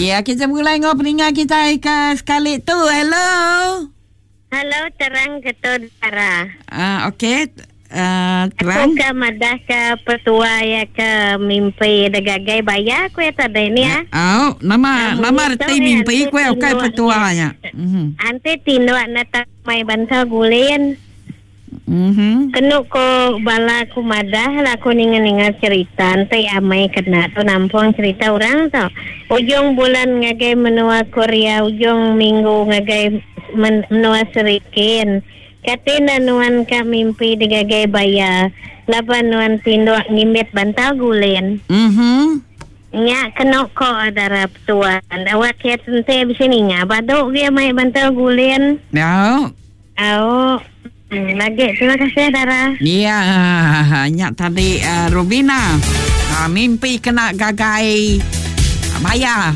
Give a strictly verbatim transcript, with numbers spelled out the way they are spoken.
Ya, kita mulai ngau peninga kita ke sekali tu. Hello. Hello, terang ke tu Dara. Ah, okey. Uh, terang. Aku ke madah ke petua ya ke mimpi degagai bayar ku ya tadi ni ya. Oh, nama ah, nama reti mimpi ku ya ukai petuanya. Mhm. Ante tinduk na tak mai bantau gulin. Mhm. Kenu ko bala ku madah lah aku ninga-ninga cerita ante amai kena tu nampung cerita orang tau. Ujung bulan ngagai menua Korea, ujung minggu ngagai menua Serikin. Katina nuan ka mimpi digagai baya. Laban nuan tinduk ngimbit bantal gulin. Mhm. Nya kena ko darah tuan. Awak kia tente bisa ninga. Baduk dia mai bantal gulin. Ya. Au. Lagi terima kasih Dara. Ya, nya tadi uh, Rubina. Uh, mimpi kena gagai baya.